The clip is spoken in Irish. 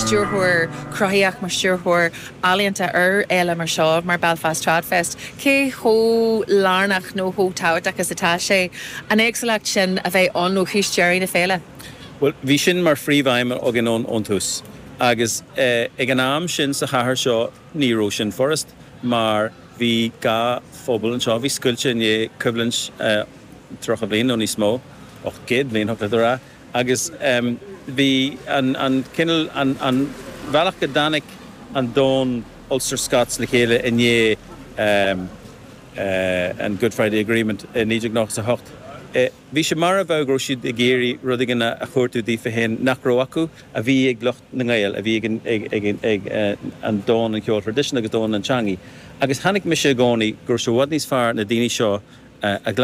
stiúrthóir cruthaitheach, mar stiúrthóir ealaíonta ar fhéile mar seo, mar Belfast Tradfest, cé chomh lárnach nó chomh tábhachtach is atá sé an éagsúlacht sin a bheith ann ó thús deireadh na féile? Bhuel, bhí sin mar phríomhaidhm againn ón tús agus ag an am sin sa chathair seo ní raibh sin furast mar bhí 2 phobal anseo a bhí scoilte i ndiaidh coimhlint 30 bliain nó níos mó, 800 bliain thiocfadh leat a rá, agus bhí an cineál, an bhealach go dtáinig an domhan Ulster Scots le chéile i ndiaidh an Good Friday Agreement i 1998. Bhí sé mar a bheadh go raibh siad ag iarraidh rud éigin a chuartú daofa féin nach raibh acu, a bhí ag lucht na nGael, a bhí ag an domhan an cheoil thraidisiúnta agus domhan an teangaidh. Agus chonaic mise i gcónaí go raibh sé i bhfad níos fearr na daoine seo a ghlacadh.